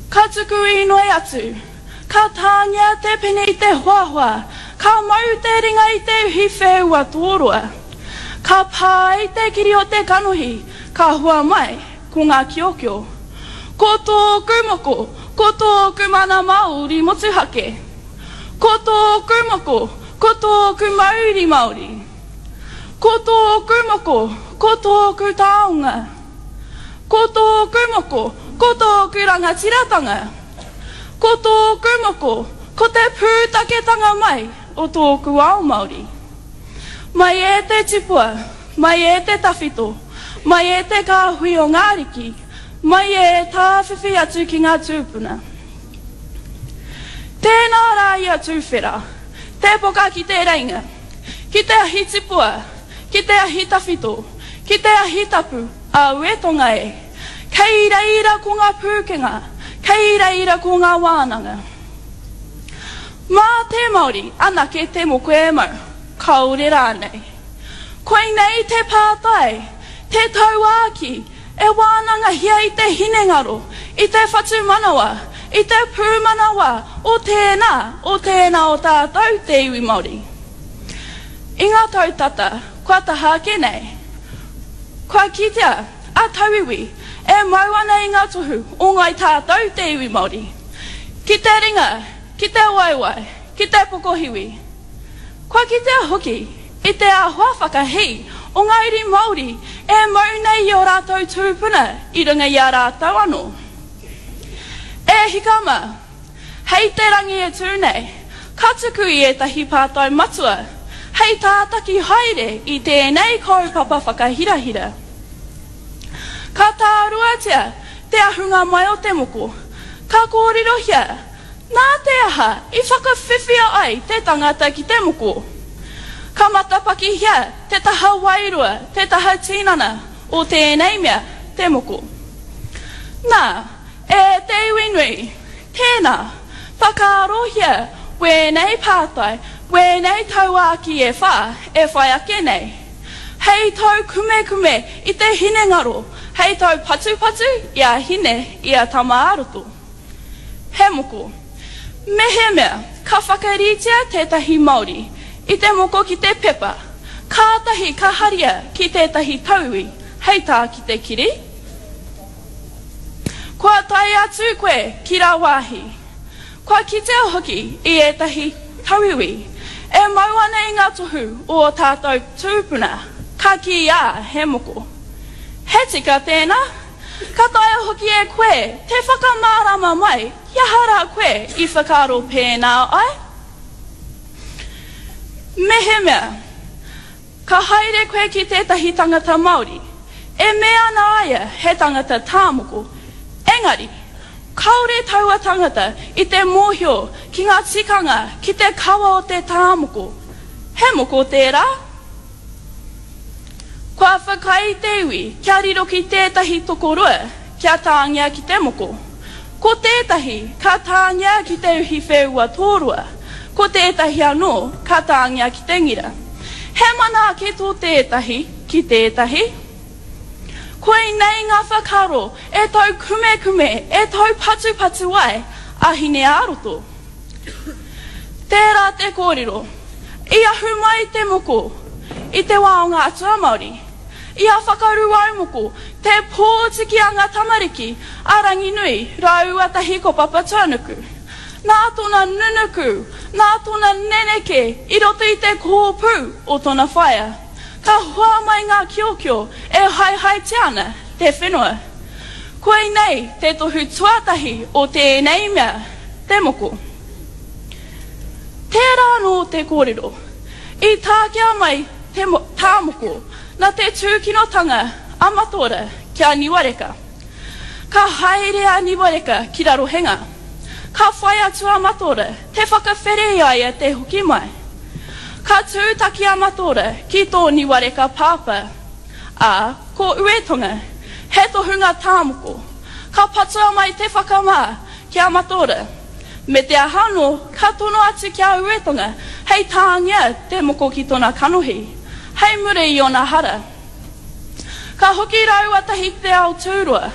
Ka tuku inoi atu. Ka tāngia te pene i te hoahoa, ka mau te ringa i te uhi whēua tōroa. Ka pā i te kiri o te kanohi, ka hua mai ko ngā kiokio. Ko tōku moko, ko tōku mana Māori motuhake. Ko tōku moko, ko tōku mauri Māori. Ko tōku moko, ko tōku taonga. Ko tōku moko, ko tōku rangatiratanga. Ko tōku moko, ko te pūtaketanga mai o tōku ao Māori. Mai e te tipua, mai e te tawhito, mai e te kāhui o ngā ariki, mai e tāwhiwhi atu ki ngā tūpuna. Tēnā rā ia tūwhera, te poka ki te reinga, ki te ahi tipua, ki te ahi tawhito, ki te ahi tapu, aue tonga e. Kei reira ko ngā pūkenga, kei reira ko ngā wānanga. Mā te Māori anake te moko e mau, kāore rānei. Koinei te pātai, te tauākī, e wānangahia i te hinengaro, i te whatumanawa, i te pūmanawa o tēnā, o tēnā o tātou te iwi Māori. I ngā tau tata kua taha ake nei, kua kitea a tauiwi e mau ana i ngā tohu o ngāi tātou te iwi Māori, ki te ringa, ki te waewae, ki te pokohiwi. Kua kitea hoki i te āhua whakahī o ngā uri Māori e mau nei i ō rātou tūpuna i runga i a rātou anō. E hika mā, hei te rangi e tū nei, ka tuku i ētahi pātai matua hei tātaki haere i tēnei kaupapa whakahirahira. Ka tāruatia te ahunga mai o te moko, ka kōrerohia nā te aha i whakawhiwhia ai te tangata ki te moko. Ka matapakihia te taha wairua, te taha tinana o tēnei mea, te moko. Nā, E te iwi nui, tēnā, whakaarohia wēnei pātai, wēnei tauākī e whā e whai ake nei. Hei taukumekume i te hinengaro, hei taupatupatu i a Hine, i a Tama-ā-roto. He moko. Mehemea ka whakaritea tētahi Māori i te moko ki te pepa, kātahi ka haria ki tētahi tauiwi hei tā ki te kiri, Kua tae atu koe ki rāwāhi. Kua kitea hoki i ētahi tauiwi e mau ana i ngā tohu o ō tātou tūpuna, ka kīia he moko. He tika tēnā? Ka taea hoki e koe te whakamārama mai he aha rā koe i whakaaro pēnā ai? Mehemea. Ka haere koe ki tētahi tangata Māori, e mea ana a ia he tangata tāmoko, engari, kāore taua tangata i te mōhio ki ngā tikanga, ki te kawa o te tāmoko. He moko tērā? Kua whakaae te iwi kia riro ki tētahi tokorua kia tāngia ki te moko. Ko tētahi ka tāngia ki te uhi wheua tōroa, ko tētahi anō ka tāngia ki te ngira. He mana ake tō tētahi ki tētahi. Koinei ngā whakaaro e taukumekume, e taupatupatu ai a Hine-ā-roto. Tērā te kōrero, i ahu mai te moko i te wā o ngā atua Māori. I a Whakaruaumoko, te pōtiki a ngā tamariki a Ranginui rāua tahi ko Papatuanuku. Nā tōna nunuku, nā tōna neneke i roto i te kōpū o tōna whaea, ka hua mai ngā kiokio e haehaetia ana te whenua. Koinei te tohu tuatahi o tēnei mea, te moko. Tērā anō te kōrero, i tākea mai te tāmoko nā te tūkinotanga a Mataora ki a Niwareka. Ka haere a Niwareka ki Rarohenga. Ka whai atu a Mataora te whakawhere i a ia te hoki mai. Ka tūtaki a Mataora ki tō Niwareka pāpā, ā, ko Uetonga, he tohunga tāmoko. Ka patua mai te whakamā ki a Mataora. Me te aha anō, ka tono atu ki a Uetonga hei tāngia te moko ki tona kanohi, hei mure i ona hara. Ka hoki rāua tahi ki te ao tūroa.